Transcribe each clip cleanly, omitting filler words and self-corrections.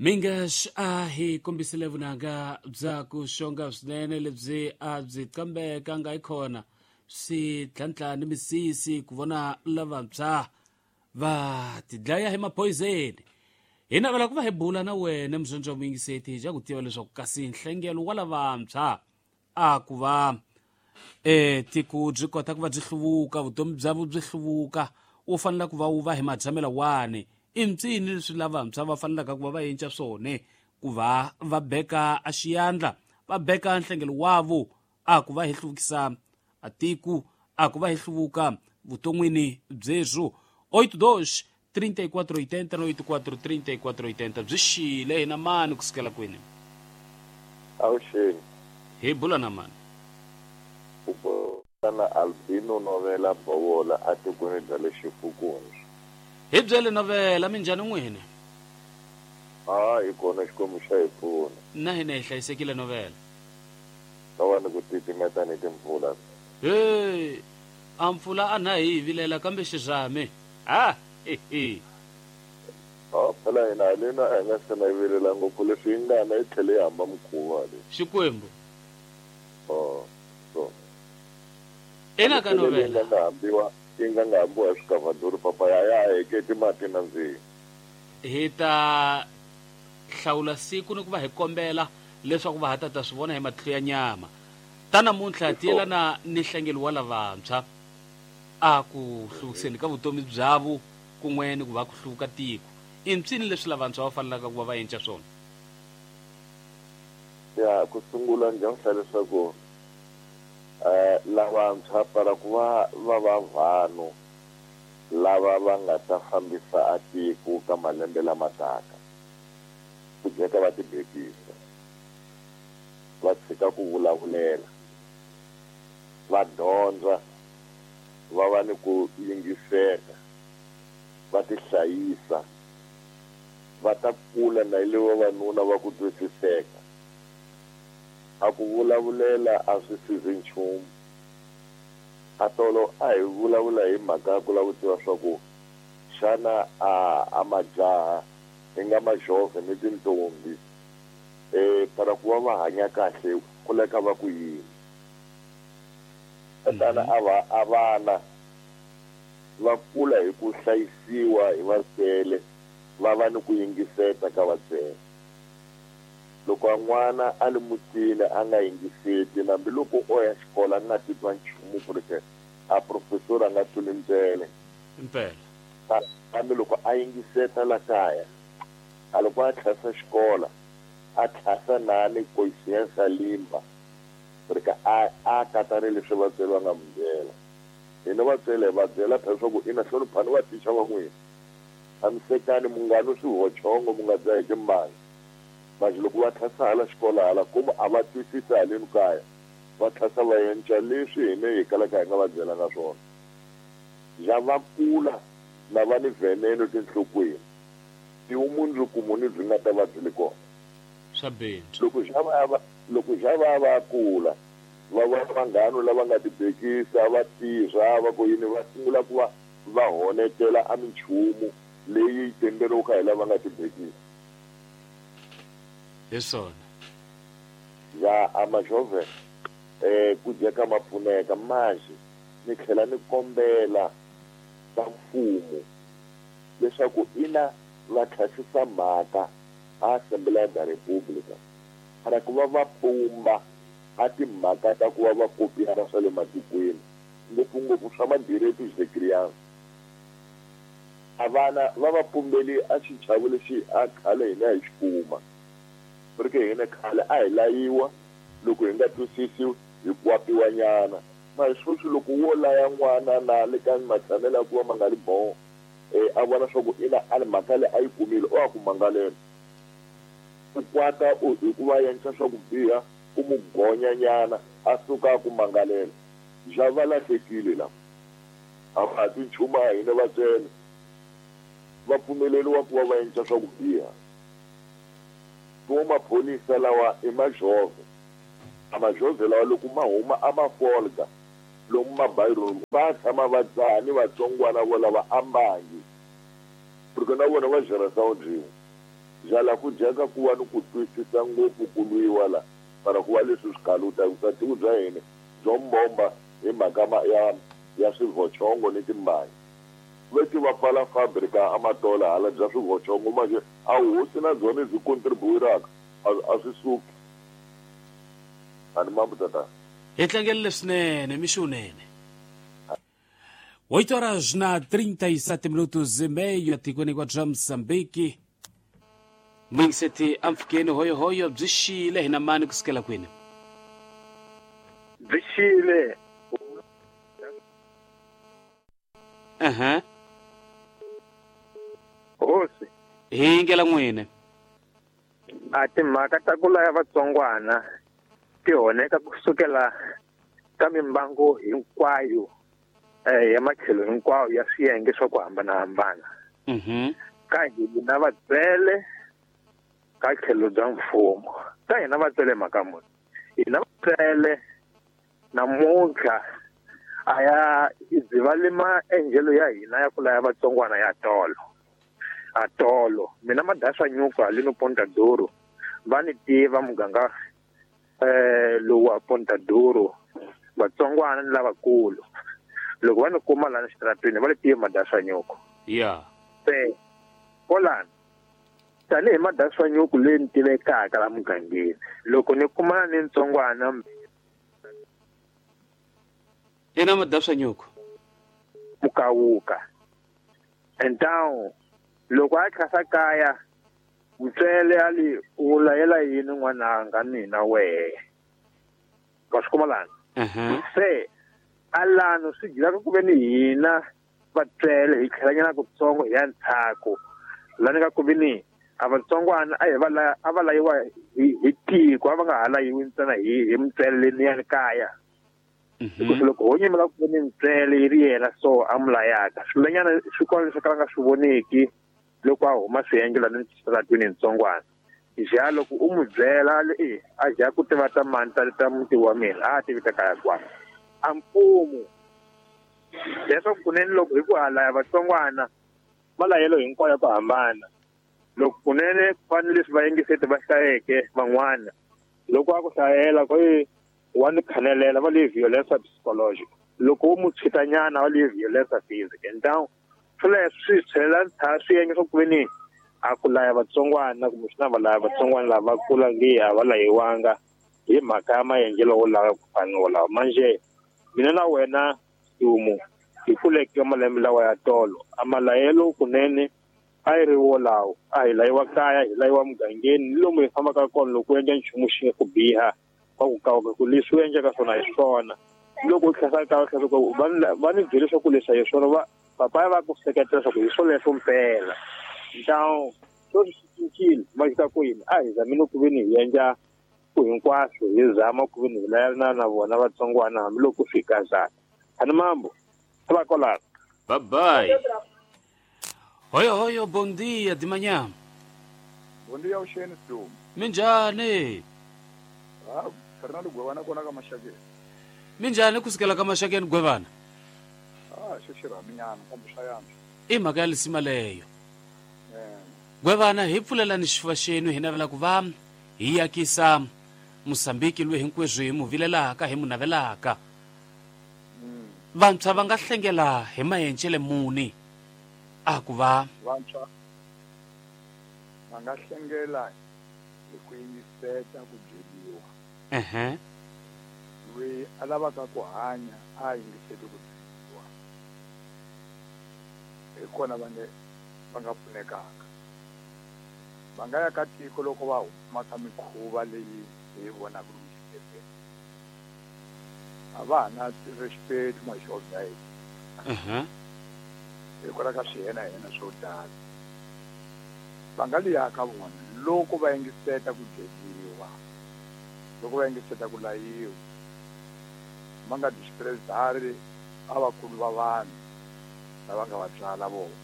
Mingash a hi kombisile vunanga bya ku xonga swinene lebyi a byi qambeka nga yi khona swi tlhantlha ni misisi ku vona lavantshwa va tidlaya hi maphoyizeni. Hi navela ku va hi bula na wena muzondzi wa muyingiseti hi ja ku tiva leswaku kasi nhlengelo wa lavantshwa a ku va e tiko byi kota ku va byi hluvuka, vutomi bya vu byi hluvuka, wu fanele ku va wu va hi matshamelo wani. I mpsini leswi lavantshwa va fanelaka ku va va endla swona ku va va beka a xiyandla, va beka nhlengelo wavo a ku va hi hluvukisa a tiko, a ku va hi hluvuka vuton'wini byebyo. 82 34 80 na 84 34 80 byi xile hi na mani kusukela kwini? Avuxeni. Hi bula na mani? U bula na Albino Novela Bovola atikweni bya le Xifukundzu. Hi byele Novela, minjhani n'wini? A hi kona, Xikwembu xa hi pfuna. Na hina hi hlayisekile Novela. Ka va ni ku titimeta ni timpfula. Hey, a mpfula a na hi vilela kambe xirhami. Ha he. A phela hina haleni a hi nga se na yi vilela ngopfu leswi yi nga na yi tlhele yi hamba mukhuva le. Xikwembu. Oh, so. Ina ka Novela. Yi nga hambiwa, yi nga nga hambiwa hi swikavhaduri papa ya ya heketi mati na ndzilo. Hi ta hlawula siku ni ku va hi kombela leswaku va ha ta ta swi vona hi matihlo ya nyama. Ta namuntlha ti yelana ni nhlengelo wa lavantshwa a ku hluvukiseni ka vutomi byavo kun'we ni ku va ku hluvuka tiko. I mpsini leswi lavantshwa va fanelaka ku va va endla swona? Ya ku sungula ndzi nga leswaku lavantshwa para ku va va va vanhu lava va nga ta fambisa a tiko ka malembe lama taka, ku dyeka va tibekisa, va tshika ku vulavulela, va dyondza, va va ni ku yingiseka, va tihlayisa, va ta kula na ile vavanuna va ku twisiseka. A ku vulavulela a swi sizi nchumu. A tolo a hi vulavula hi mhaka ya ku lava ku tiva swa ku xana a majaha hi nga majove ni tintombi para ku va va hanya kahle ku leka va ku yini. Tatana a vana va kula hi ku hlayisiwa hi vatswele, va va ni ku yingiseta ka vatswele. Loko a n'wana a li mutini a nga yingiseti, nambi loko o ya xikolo a nga titwa nchumu ku ri ke a professor a nga tluli ndlele. Impela. Kambe loko a yingiseta la kaya, a loko a tlhasa xikolo, a tlhasa na ni conscience limba, ku ri ke a katane leswi vatswari va nga n'wi byela. Hina vatswele hi va byela phela swa ku ina hloniphani va thicha va n'wina. Tshamisekani mu nga nwi swihochongo, mu nga dzahi timbangi. Manje loko va tlhasa hala xikolo hala komu a va twisisi haleni kaya, va tlhasa va yenca leswi hina hi kalaka hi nga va byelanga swona. Ja va kula na va ni veneno tinhlokweni, i vumundzuku muni byi nga ta va byi li kona? Swa bindzu. Loko ja va ya va, loko ja va ya va kula, va vona vanghana lava nga tibekisa, va tirha, va ku yini, va sungula ku va va honetela a minchumu leyi yi tenderiwaka hi lava nga tibekisa. Hi swona. Ya a majove ku dyeka ma pfuneka manje ni tlhela ni kombela ka mfumo leswaku ina va tlhasisa mhaka a Assembleia da República para ku va va pumba a timhaka ta ku va va kopiyana swa le matikweni, ngopfungopfu swa ma-direitos de criança. A vana va va pumbeli a xichavo lexi a khale hina hi xi kuma. Ku ri ke hina khale a hi layiwa loko hi nga twisisi hi kwapiwa nyana. Mara sweswi loko wo laya n'wana na le ka matshamelo ya ku va ma nga ri bon, a vona swa ku ina a ni mhaka leyi a yi kumile, o a ku mangalela. U kwata u hi ku va yenca swa ku biha, u mu gonya nyana, a suka a ku mangalela. Ja va lahlekile lava. A va ha twi nchumu a hina vatswele. Va pfumeleriwa ku va va yenca swa ku biha. Tuwo maphorisa lawa i majove. A majove lawa loko ma huma a ma folga lomu mabaironi va tshama va dzaha ni vatsongwana vo lava ambangi. Porque na vona va xeresa byin'we. Byala ku dyeka ku va ni ku twisisa ngopfu ku lwiwa la mara ku va leswi swi kaluta vukatiku bya hina byo mbomba hi mhaka ya swivochongo ni timbanyi. Veti va pfala fabrika amatola hala bya swivochongo manje a hosi na byona byi contribuiraka a swi suki. Ani mambo tata. Hi tlangelile swinene mixo wunene. 8 horas na 37 minutos e meio etikweni kwa Mozambique. Muyingiseti amfukeni hoyohoyo byi xile hina mani kusukela kwini? Byi xile. Aha. Hosi. Hi ngela n'wini. A timhaka ta ku laya vatsongwana ti honeka kusukela ka mimbangu hinkwayo ya matlhelo hinkwawo ya swiyenge swa ku hambanahambana. Ka hina vatswele ka tlhelo bya mfumo. Ka hina vatswele mhaka muni? Hina vatswele namuntlha a ya byi le maendlelo ya hina ya ku laya vatsongwana ya tolo. A tolo mina madaswa nyuka lino Ponta Duro va ni tiva muganga lowu wa Ponta Duro vatsongwana ni lavakulu. Loko va ni kuma lana xitaratwini va le tiva madaswa nyuku. Yeah. Se kolana tanihi madaswa nyuku leyi ni tivekaka la mugangeni loko ni kumana ni ntsongwana ina madaswa nyuku mukawuka então loko a tlhasa kaya mutswele a li u layela yini n'wananga mina wehe va swi kuma lana. Se alano swi gilaka ku ve ni hina vatswele hi tlhelanyana kutsongo hi ya ndzhaku lani ka ku ve ni a vatsongwana a hi va a va layiwa hi tiko a va nga ha layiwi ntsena hi mutswele leniyani kaya. Hikuva loko ho nyimela ku ve ni mutswele yi ri yena so a mu layaka swilanyana swi kona leswi ka va nga swi voneki loko a huma swiyenge lani xitaratwini ntsongwana. Ja loko u mu byela a ja ku tiva ta mani ta muti wa mina a tivi ta kaya kwala. A mfumo leswaku kunene loko hi ku halaya vatsongwana malayelo hinkwayo ya ku hambana loko kunene ku fanele leswi vayingiseti va hlayeke van'wana loko a ku hlayela ku wa ni khanelela va le violence psychological loko u mu tshitanyana va le violence physical então swoleswo swi tlhela swiyenge swa ku ve ni a ku laya vatsongwana kumbe swi na va laya vatsongwana lava kula nge a va layiwanga hi mhaka ya maendlelo wolawo ku fana wolawo. Manje mina na wena Dumo hi kuleke malembe lawa ya tolo a malayelo kunene a yi ri wolawo a hi layiwa kaya hi layiwa mugangeni ni lomu hi fambaka kona loko u endla nchumu xi nga ku biha wa ku kawuka ku leswi u endlaka swona hi swona loko u tlhasa kaya u tlhasa ku va ni byele leswaku leswi hi swona va papaya va ku seketela leswaku hi swoleswo mpela. Então sweswi swi cincile va xita ku yini a hi zamini ku ve ni hi endla ku hinkwaswo hi zama ku ve ni hi layelana na vona vatsongwana hambiloko swi kazana. Ani mambo va kolana. Bye bye. Hoyo hoyo, bom dia de manhã. Bom dia, Eugênio Dumo. Minjhani? Ah, Fernando Gwevana kona ka Maxakeni. Minjhani kusukela ka Maxakeni Gwevana? Ah, xo xirhaminyana kambe swa yantswa. I mhaka ya lisima leyo. Gwevana hi pfulelani xifuva xenu hi navela ku va hi akisa Mozambique loyi hinkweswo hi mu vilelaka hi mu navelaka. Vantshwa va nga hlengela hi maendlele muni a ku va vantshwa va nga hlengela hi ku yingiseta ku byeriwa. Loyi a lavaka ku hanya a yingiseti ku byeriwa hi kona va nga pfunekaka. Va nga ya ka tiko loko va huma ka mikhuva leyi hi vonaka lomu xibedhlele a va ha na respect maxovi ya hina hikwalaho ka swihenahena swo tala. Va nga liya ka vona loko va yingiseta ku byeriwa loko va yingiseta ku layiwa va nga disprezari a vakulu va vanhu lava nga va tswala vona.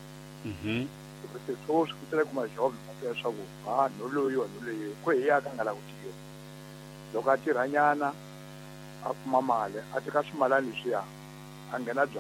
Se sweswi ku tele ku maxovi ma tiva leswaku ha no loyiwa no loyiwa ku hi ya ka nga lavi ku tirha. Loko a tirhanyana a kuma mali a teka swimalani leswiya a nghena